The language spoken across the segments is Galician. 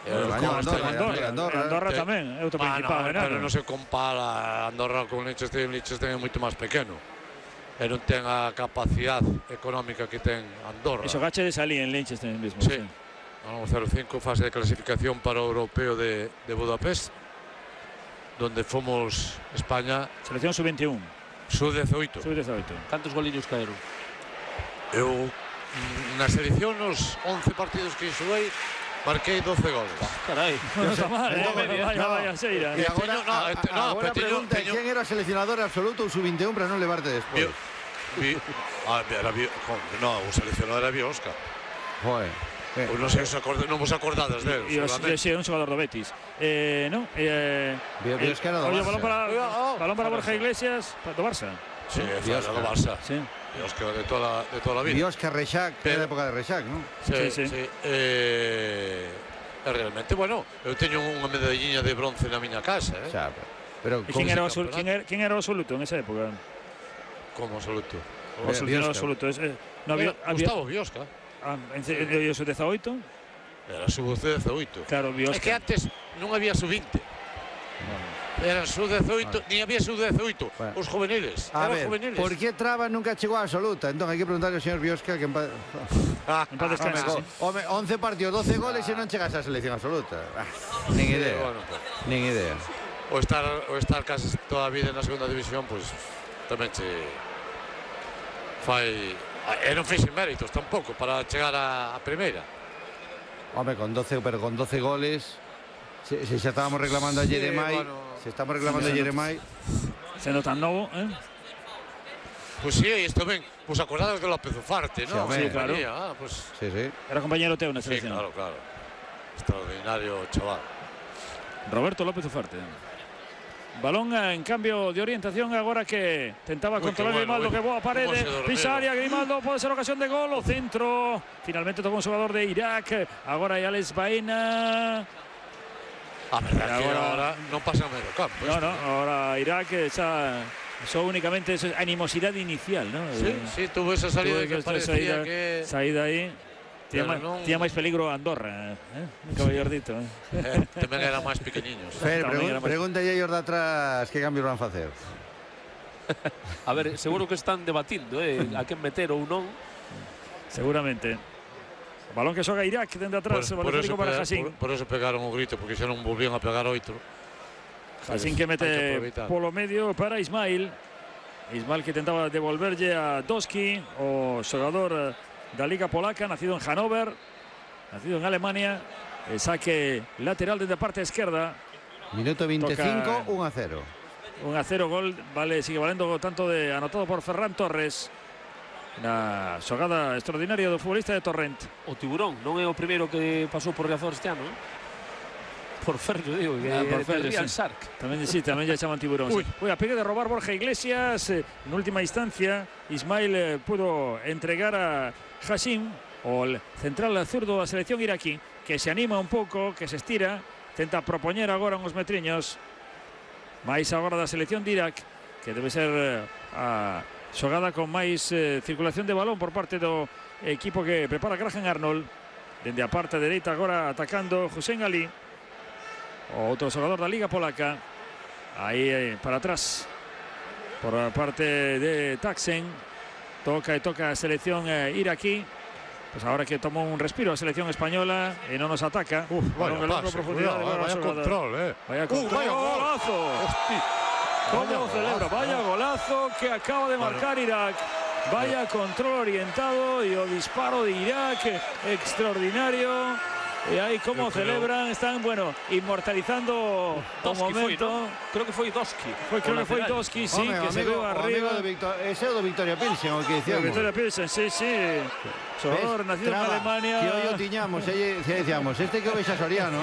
Andorra tamén, é outro principal. Pero non se compara Andorra con Liechtenstein. Liechtenstein é moito máis pequeno e non ten a capacidade económica que ten Andorra. E xogachedes ali en Liechtenstein mesmo. Sí. Ganamos 0-5, fase de clasificación para o europeo de Budapest, donde fomos España. Selección sub-21. Sub-18. Cantos goliños caeron? Eu, na selección, nos 11 partidos que xoguei, marquei 12 goles. Carai, non está mal, vaya xeira. E agora pregunta, quen era seleccionador absoluto ou sub-21 para non levarte despois? O seleccionador era Biosca. Joder. Non sei se non vos acordades dele. Sí, un xogador do Betis. Non? Biosca era do Barça. Balón para Borja Iglesias, do Barça. Sí, era do Barça. Sí. Biosca de toda a vida. Biosca, Rexac, era a época de Rexac, non? Sí. Realmente, bueno, eu teño unha medalliña de bronce na miña casa, Pero quen era o absoluto en esa época? Como absoluto? O absoluto. Gustavo Biosca. En sub-18? Era sub-18. Claro, Biosca. É que antes non había sub-20. Eran sub-18, ni había sub-18. Os juveniles. A ver, por que Traba nunca chegou a absoluta? Entón, hai que preguntarle ao señor Biosca que en paz descanse. 11 partidos, 12 goles e non chegas á selección absoluta. Nin idea. O estar casi toda a vida na segunda división, pois tamén che fai. E non fixen méritos tampouco para chegar á primeira. Home, con 12 goles, se xa estábamos reclamando a Jeremai, Se nota novo, Pois sí, isto ben, vos acordados de López Ufarte, non? Sí, claro. Sí. Era compañero teu na selección. Sí, claro. Extraordinario chaval. Roberto López Ufarte. Balón en cambio de orientación agora que tentaba controlar Grimaldo, que boa parede, pisa área, Grimaldo, pode ser ocasión de gol, o centro, finalmente tocou un xogador de Irak, agora hai Alex Baena. A verdade que agora non pasa no medio campo. No, agora Irak xa só únicamente animosidade inicial, ¿no? Sí, tuvo esa salida que parecía que... Saída aí. Tía máis peligro Andorra, caballordito. Tamén eran máis pequeniños. Pregunta aí aos de atrás que cambios van facer. A ver, seguro que están debatindo a quen meter ou non. Seguramente. Balón que xoga Irak dende atrás, balón para Hassin. Por eso pegaron o grito, porque xa non volvían a pegar outro. Hassin que mete polo medio para Ismail. Ismail que tentaba devolverlle a Doski, o xogador da Liga Polaca, nacido en Hannover, nacido en Alemania. El saque lateral desde a parte esquerda. Minuto 25, 1-0. 1-0, gol, sigue valendo tanto de anotado por Ferran Torres. Na xogada extraordinaria do futbolista de Torrent. O Tiburón non é o primeiro que pasou por Riazor este ano, Por Ferro, digo, por Ferro, Real Shark. Tamén lle chaman Tiburón. A pegue de robar Borja Iglesias, en última instancia Ismail pudo entregar a Hassin, o central zurdo da selección iraquí, que se anima un pouco, que se estira, tenta propoñer agora uns metriños máis agora da selección de Irak, que debe ser a xogada con máis circulación de balón por parte do equipo que prepara Graham Arnold. Dende a parte dereita agora atacando Hussein Ali, outro xogador da Liga Polaca. Aí para atrás por a parte de Taksen. Toca a selección iraquí. Pues ahora que tomó un respiro a selección española y no nos ataca. Vaya control, Vaya golazo. ¿Cómo celebra? Vaya golazo que acaba de marcar Irak. Vaya control orientado y o disparo de Irak extraordinario. E aí como celebran, están, inmortalizando o momento. Creo que foi Doski. Creo que foi Doski, sí, que se veo arriba. Ese é o do Victoria Pilsen, o que dicíamos. Victoria Pilsen, sí. Xogador nacido en Alemania. Que hoy o tiñamos, decíamos, este que o vexa Soriano,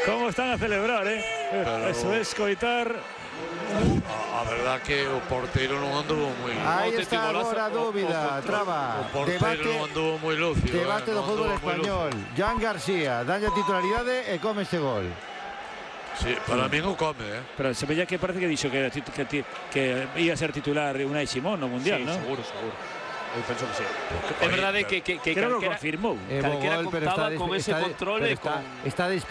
Como están a celebrar, Eso es coitar. A verdad que o porteiro non anduvo moi... Aí está agora a dúbida, Traba. O porteiro non anduvo moi lúcido. Debate do fútbol español. Joan García, dalle a titularidade e come este gol. Sí, para mí non come, Pero se veía que parece que dixo que ia ser titular Unai Simón no Mundial, non? Seguro. Eu penso que sí. É verdade que creo que confirmou. Calquera contaba con ese control e con... Está